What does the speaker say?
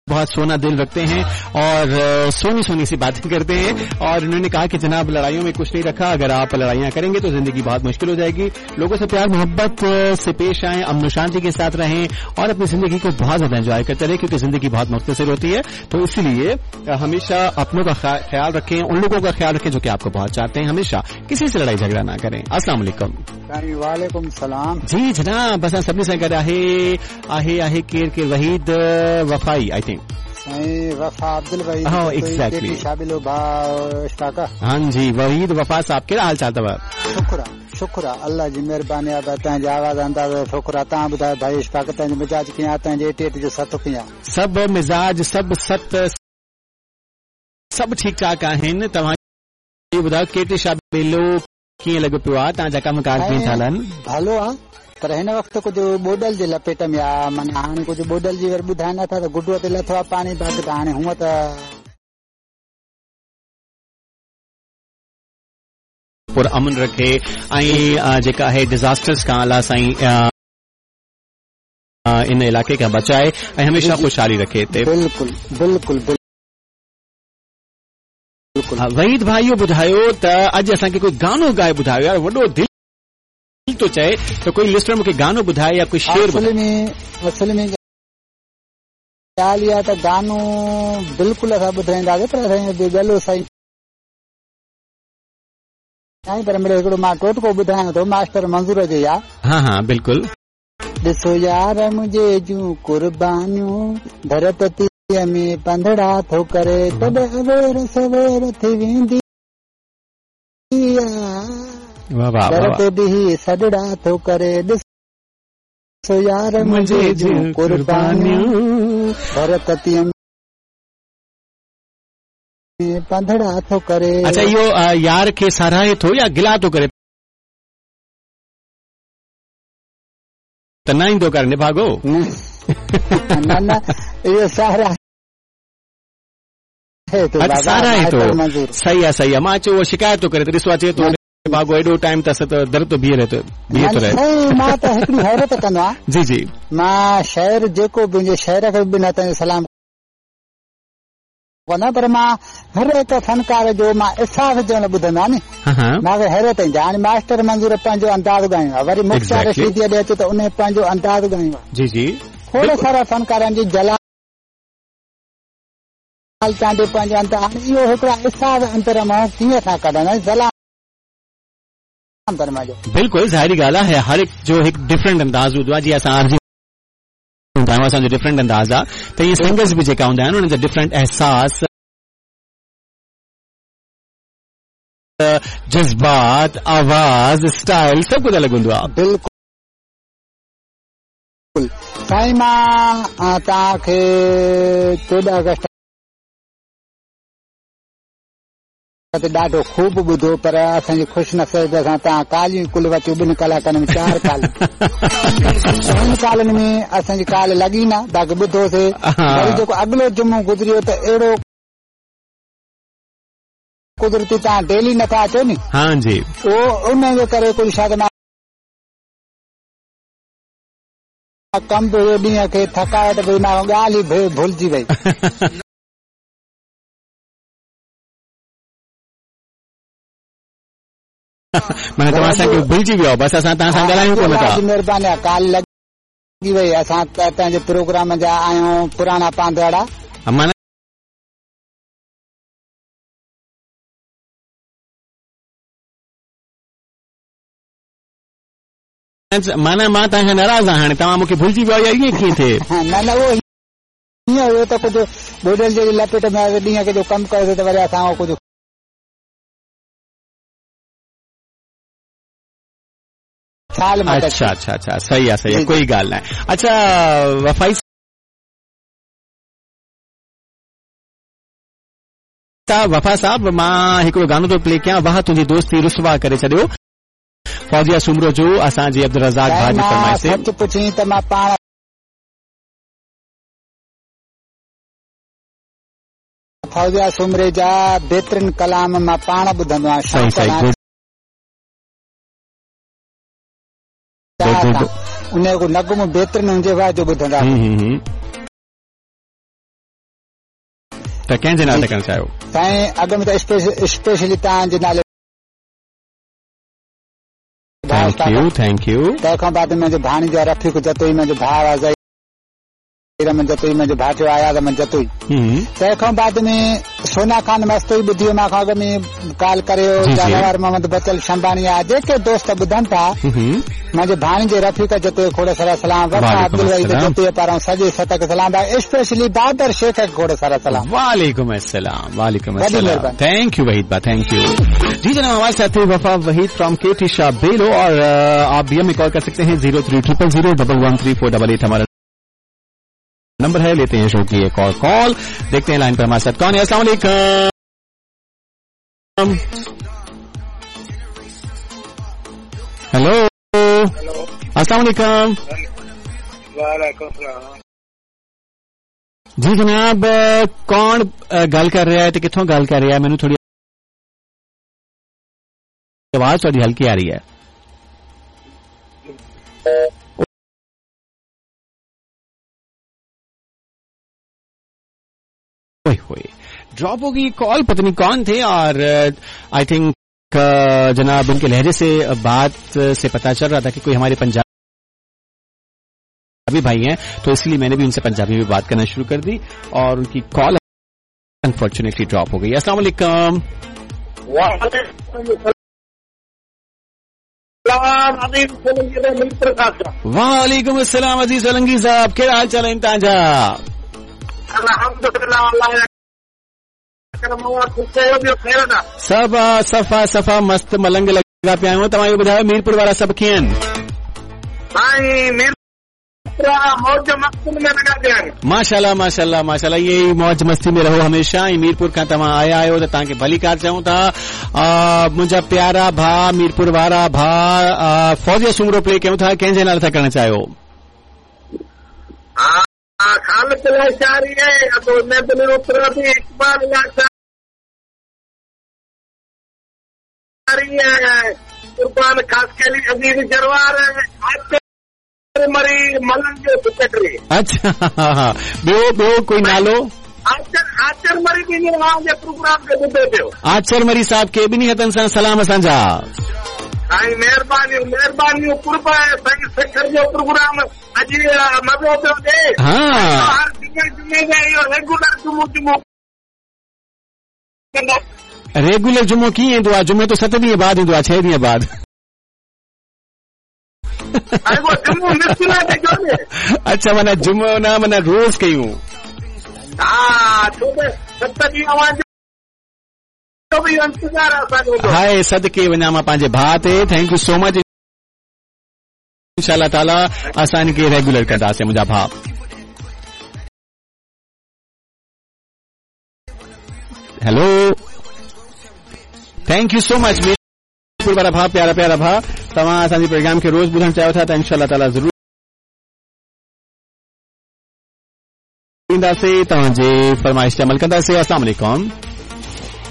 बहुत सोना दिल रखते हैं और सोनी सोनी सी बातें करते हैं और उन्होंने कहा कि जनाब लड़ाइयों में कुछ नहीं रखा, अगर आप लड़ाइयां करेंगे तो जिंदगी बहुत मुश्किल हो जाएगी। लोगों से प्यार मोहब्बत से पेश आए, अमन शांति के साथ रहें और अपनी जिंदगी को बहुत ज्यादा एंजॉय करते रहे, क्योंकि जिंदगी बहुत मुख्तसर होती है। तो इसलिए हमेशा अपनों का ख्याल रखें, उन लोगों का ख्याल रखें जो कि आपको बहुत चाहते हैं। हमेशा किसी से लड़ाई झगड़ा ना करें। अस्सलाम वालेकुम। वालेकुम सलाम। जी जनाब, असां सभिनी सां गॾु आहे आहे आहे केरु केरु? Waheed वफ़ाई I think. साईं वफ़ा अब्दुल वहीद। हाँ, एग्जैक्टली। शाबिलो भाउ इश्ताक। हाँ जी, वहीद वफ़ा साहब, कहिड़ा हाल चाल अथव? शुक्र आहे, शुक्र आहे, अल्लाह जी महिरबानी आहे। तव्हांजी आवाज़ अंदाज़ो शुक्र आहे। तव्हां ॿुधायो भाई इश्ताक, तव्हांजो मिजाज कीअं आहे? तव्हांजे 88 जो सत कीअं आहे? सभु मिजाज, सभु सत, सभु ठीक ठाक आहिनि। तव्हां इहो ॿुधायो, केटी शाबिलो कीअं लॻो पियो आहे? तव्हांजा कम कार कीअं था हलनि? भलो आहे, पर हिन वक़्तु कुझु ॿोॾल जे लपेट में आहे। माना हाणे कुझु ॿोॾल जी वरी ॿुधाए नथा त गुडूअ ते लथो आहे पाणी, बाक़ी त हाणे हूअं त पुर अमन रखे ऐं जेका आहे डिज़ास्टर्स खां अलाह साईं इन इलाइक़े खां बचाए ऐं हमेशा ख़ुशहाली रखे हिते। बिल्कुलु बिल्कुलु बिल्कुलु। वहीद भाई इहो ॿुधायो त अॼु असांखे कोई गानो ॻाए ॿुधायो यार, वॾो दिलि थो चए त कोई लिस्टर मूंखे गानो ॿुधाए या कोई शेर ॿुधाए। असल में ॻाल्हि इहा त गानो बिल्कुलु असां ॿुधाईंदासीं, पर असांजो ॻलो सही साईं, पर मिड़ो हिकिड़ो मां टोटको ॿुधायां थो, मास्टर मंज़ूर जो आहे। हा हा बिल्कुलु। ॾिसो यार मुंहिंजे जूं कुर्बानियूं, धरत में पंधड़ा थो करे, तॾहिं अवेर सवेर थी वेंदी दर ते बीही सॾड़ा थो करे, ॾिसो यार मुंहिंजे जूं कुर्बानियूं, धरत में पंधड़ा थो करे। अच्छा, इहो यार खे सराहे थो या गिला थो करे? त न ईंदो कर निभागो। न न, इहो सराहे थो। सराहे थो, सही आहे सही आहे। मां चयो उहो शिकायत थो करे त ॾिसो अचे थो निभागो, एॾो टाइम त दर थो बीहे रहे थो, बीहे थो रहे। मां त हिकिड़ी हैरत कंदो आहियां। जी जी। मां शहर जेको बि हुजे, शहर खे बि न त सलाम कंदो, पर मां हर हिकु फनकार जो मां अहसास जो ॿुधंदो आहियां नी, मूंखे हैरत ईंदी आहे। हाणे मास्टर मंज़ूर पंहिंजो अंदाज़ ॻायो आहे, वरी मुख्तियार रशीदी ॾे अचे त उन पंहिंजो अंदाज़ ॻायो आहे। जी जी। खोड़ सारा फनकारनि जी जलाल चांडियो पंहिंजो अंदाज़, हाणे इहो हिकिड़ा अहसास अंदर मां कीअं था कढनि, सलाम। बिल्कुलु ज़ाहिरी ॻाल्हि आहे, हर हिकु जो हिकु डिफरेंट अंदाज़ हूंदो आहे। जीअं असां आर्जी हूंदा आहियूं, असांजो डिफरेंट अंदाज़ आहे, त इहे सिंगर्स बि जेका हूंदा आहिनि उन्हनि जा डिफरेंट अहसास, जज़्बात, आवाज़, स्टाइल सभु कुझु अलॻि हूंदो आहे। बिल्कुलु साईं, मां तव्हांखे 14 अगस्त ते ॾाढो ख़ूब ॿुधो, पर असांजी ख़ुशि नसीब असां तव्हां कालियूं कुल वचो 2 कलाकनि में 4 काल, ॿिनि कालनि में असांजी काल लॻी न, बाक़ी ॿुधोसीं। वरी जेको अॻिलो जुमो गुज़री वियो त अहिड़ो कुदरती तव्हां डेली नथा अचो नी। हाँ जी। उहो उन जे करे कुझु शायदि मां कम बि हुयो, ॾींहं खे थकावट बि, मां ॻाल्हि ई भुलिजी वई। माना तव्हां असांखे भुलिजी वियो, बसि असां तव्हां सां ॻाल्हायूं कोन था। महिरबानी आहे, काल लॻी वई। असां तव्हांजे प्रोग्राम जा आहियूं पुराणा पांधवाड़ा। माना माना मां तव्हां खां नाराज़ आहियां, हाणे तव्हां मूंखे भुलिजी वियो या ईअं कीअं थिए? न न, उहो ईअं हुयो त कुझु ॿोॾल जे लपेट में आयो, ॾींहं खे जो कमु कयोसीं त वरी असां कुझु अच्छा अच्छा अच्छा, सही आहे सही आहे, कोई ॻाल्हि न आहे। अच्छा वफ़ाई साहब, वफ़ा साहब, मां हिकिड़ो गानो थो प्ले कयां, वाह तुंहिंजी दोस्ती रुसवा करे छॾियो, फौजिया सूमरो जो असांजे अब्दुल रज़ाक भाउ जी फरमाइश ते। सच पुछी त मां पाण फौजिया सूमरे जा बहितरीन कलाम मां पाण ॿुधंदो आहियां। सही सही, गुड। उन जो नगमो बहितरीन हुजे, वाह जो ॿुधंदा। त कंहिंजे नाले था करणु चाहियो? साईं अॻु में त स्पेशली तव्हांजे नाले। Thank you, thank you. तंहिंखां बाद मुंहिंजो भाणीजो आहे रफ़ीक जतोई, मुंहिंजो भाउ आहे ज़हीर अहमद जतोई, मुंहिंजो भाटियो आयाज़ अहमद जतोई। तंहिंखां बाद में सोना खान मस्तोई ॿुधी मां खां अॻु में कॉल करियो, जानवर मोहम्मद बचल शंबानी आहे, जेके दोस्त ॿुधनि था। मुंहिंजे भाणीजे रफ़ीक जतोई खोड़ सारा सलाम, वफा अब्दुल वहीद जतोई पारां सॼे सत खे सलाम, स्पेशली बाबर शेख खे खोड़ सारा सलाम। वालेकुम अस्सलाम, वालेकुम अस्सलाम। Thank you Waheed बा, thank you. जी जनाब, हमारे साथ थे वफा वहीद फ्रॉम के टी शाह बेलो और आप भी हमें कॉल कर सकते हैं 03000 113488 हमारा नंबर है। लेते हैं शो की एक और कॉल, देखते हैं लाइन पर हमारे साथ कौन है। अस्सलाम वालेकुम। हेलो, अस्सलाम वालेकुम। वालेकुम सलाम। जी जनाब, कौन गल कर रहा है ते कित्थों गल कर रहा है? मैनू थोड़ी आवाज थोड़ी हल्की आ रही है। ड्रॉप हो गई कॉल, पता नहीं कौन थे। और I think जनाब उनके लहजे से बात से पता चल रहा था कि कोई हमारे पंजाबी भाई हैं, तो इसलिए मैंने भी उनसे पंजाबी में बात करना शुरू कर दी और उनकी कॉल अनफॉर्चुनेटली ड्रॉप हो गई। अस्सलाम वालेकुम। वालेकुम अस्सलाम अजीज सोलंगी साहब, क्या हाल चाल है तव्हांजा? सभु सफ़ा सफ़ा मस्त मलंग लॻा पिया आहियूं। तव्हां इहो ॿुधायो मीरपुर वारा सभु कीअं आहिनि? माशाल्लाह माशाल्लाह माशाल्लाह, इहे ई मौज मस्ती में रहो हमेशा। ऐं मीरपुर खां तव्हां आया आहियो त तव्हांखे भलीकार चऊं था। मुंहिंजा प्यारा भाउ मीरपुर वारा भाउ, फौजिया सुमरो प्ले कयूं था, कंहिंजे नाले था करणु चाहियो? अच्छा, ॿियो ॿियो कोई नालो? आचर मरी साहब खे ॿिन्ही हथनि सां सलाम असांजा। साईं महिरबानियूं महिरबानियूं, कुर्ब आहे साईं सखर जो प्रोग्राम अॼु मज़ो पियो ॾिए। हा, हर जुमे जुमे जा इहो रेगुलर जुमो जुमो रेगुलर जुमो कीअं ईंदो आहे? जुमे त 7 ॾींहं बाद ईंदो आहे, 6 ॾींहं बाद। अच्छा, माना जुमो न माना रोज़ कयूं। हाय सदके वञा मां पंहिंजे भाउ ते। Thank you so much. इंशाअल्लाह ताला असां हिनखे रेगुलर कंदासीं मुंहिंजा भाउ। Hello, thank you so much Mirpur वारा भाउ, प्यारा प्यारा भाउ, तव्हां असांजे प्रोग्राम खे रोज़ ॿुधणु चाहियो था त इंशाअल्लाह ताला ज़रूर ईंदासीं, तव्हांजे फरमाइश ते अमल कंदासीं। अस्सलाम वालेकुम।